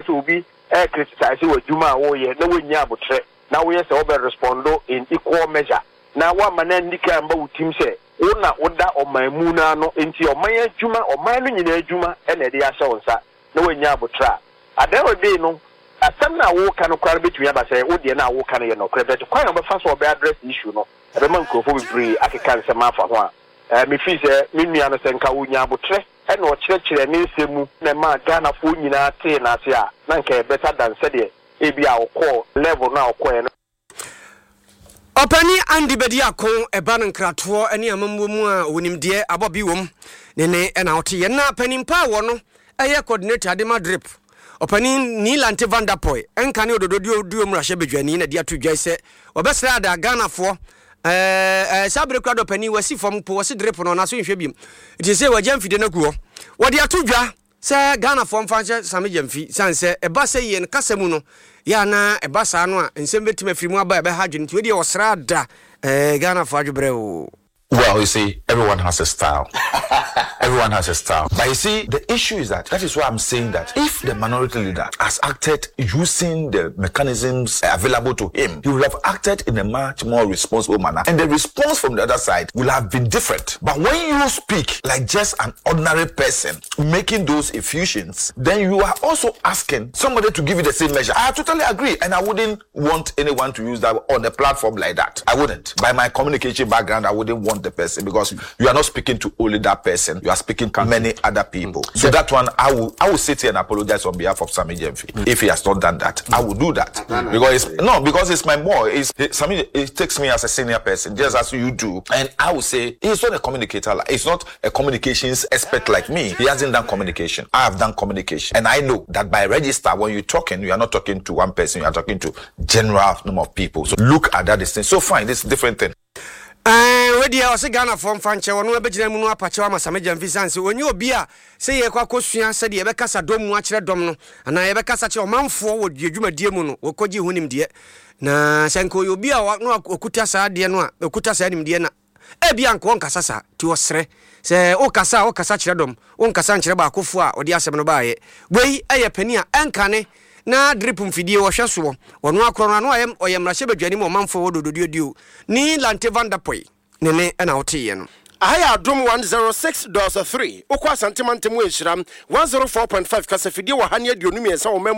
sɛ obi criticize wɔ adwuma a wɔreyɛ na wɔnnya abotrɛ na woyɛ sɛ wobɛ respond in equal measure na woama no anni kan mba wo tim sɛ wo na woda ɔman mu no ano, nti ɔman adwuma, ɔman no nyinaa adwuma na ɛde ahyɛ wo nsa na woannya abotrɛ a, at the end of the day no, asɛm no a woreka no koraa no bɛtumi aba sɛ wo deɛ no a woreka no yɛ nɔkorɛ, but kwan a wobɛfa so a wobɛ address issue no, ɛbɛma nkurɔfoɔ bebree akeka nsɛm afa ho a, eh, me feel sɛ me nua no sɛ nka ɔnya abotrɛ na ɔkyerɛkyerɛɛ ne nsɛm mu na ɛmaa Ghanafoɔ nyinaa tee no ase a, na nka ɛyɛ better than sɛdeɛ ebia ɔkɔɔ level no a ɔkɔeɛ no. Ɔpanin Andy Bediako ɛba no nkratoɔ ne amammuo mu a ɔwɔ nimdeɛ abɔ bi wom ne ne ɛna ɔte yɛn na panin pa a wɔ no ɛyɛ coordinator de ma drip ɔpanin Nii Lante Vanderpuye ɛnka ne ododo duo mmarahyɛ badwani na de ato dwa sɛ wɔbɛsrɛ ada Ghanafoɔ ɛɛ saa bere kura dɔ panin wasi fam po wɔsi drip no ɔnaso nhwɛ biom nti sɛ wɔagya mfidie no agu hɔ wɔde ato dwa Sɛ Ghanafoɔ mfa nhyɛ Sammy Gyamfi sane sɛ ɛba sɛ yɛn kasa mu no yɛ a na ɛba saa no a nsɛm bɛtumi afiri mu aba a ɛbɛha adwene nti wei deɛ ɔsraa da eh Ghanafoɔ adwebrɛ oo. Well you see everyone has a style everyone has a style but you see the issue is that that is why I'm saying that if the minority leader has acted using the mechanisms available to him he would have acted in a much more responsible manner and the response from the other side will have been different but when you speak like just an ordinary person making those effusions then you are also asking somebody to give you the same measure I totally agree and I wouldn't want anyone to use that on a platform like that I wouldn't by my communication background I wouldn't want the person because you are not speaking to only that person you are speaking to many other people so that one I will I will sit here and apologize on behalf of Sammy Gyamfi if he has not done that I will do that because it's no because it's my boy it's Sammy it takes me as a senior person just as you do and I will say he's not a communicator he's not a communications expert like me he hasn't done communication I have done communication and I know that by register when you're talking you are not talking to one person you are talking to general number of people so look at that distance so fine this different thing. Ɛɛ wei deɛ ɔse Ghanafoɔ mfa nkyɛ ɔno ɛbɛgyina mu no apakyɛw ama Sammy Gyamfi sane sɛ ɔnyɛ obi a sɛ yɛkɔ akɔsua sɛdeɛ yɛbɛkasa dɔm mu akyerɛ dɔm no anaa yɛbɛkasa kyerɛ ɔmanfoɔ wɔ yɛ dwumadie mu no wɔkɔgye ho nimdeɛ na sɛ nka ɔyɛ obi a na ɔkuta saa adeɛ no a ɔkuta saa nimdeɛ na Ebia anka ɔnkasa saa, nti ɔsrɛ sɛ wokasa a wokasa kyerɛ dɔm, wonkasa nkyerɛ baakofoɔ a ɔde asɛm no baeɛ. Wei yɛ panin a ɛnkane na drip mfidie ɔhwɛ soɔ, ɔno ara korɔ no ano ayɛ ɔyɛ mmarahyɛbadwani ma ɔmanfoɔ wɔ Dododuaduo ne Lante Vanderpuye ne ne na woteeɛ no. Aha yɛ Adom 106.3, wokɔ Asante mantam mu a Nhyira 104.5 kasafidie wɔ ha ne 23 wɔ man mu.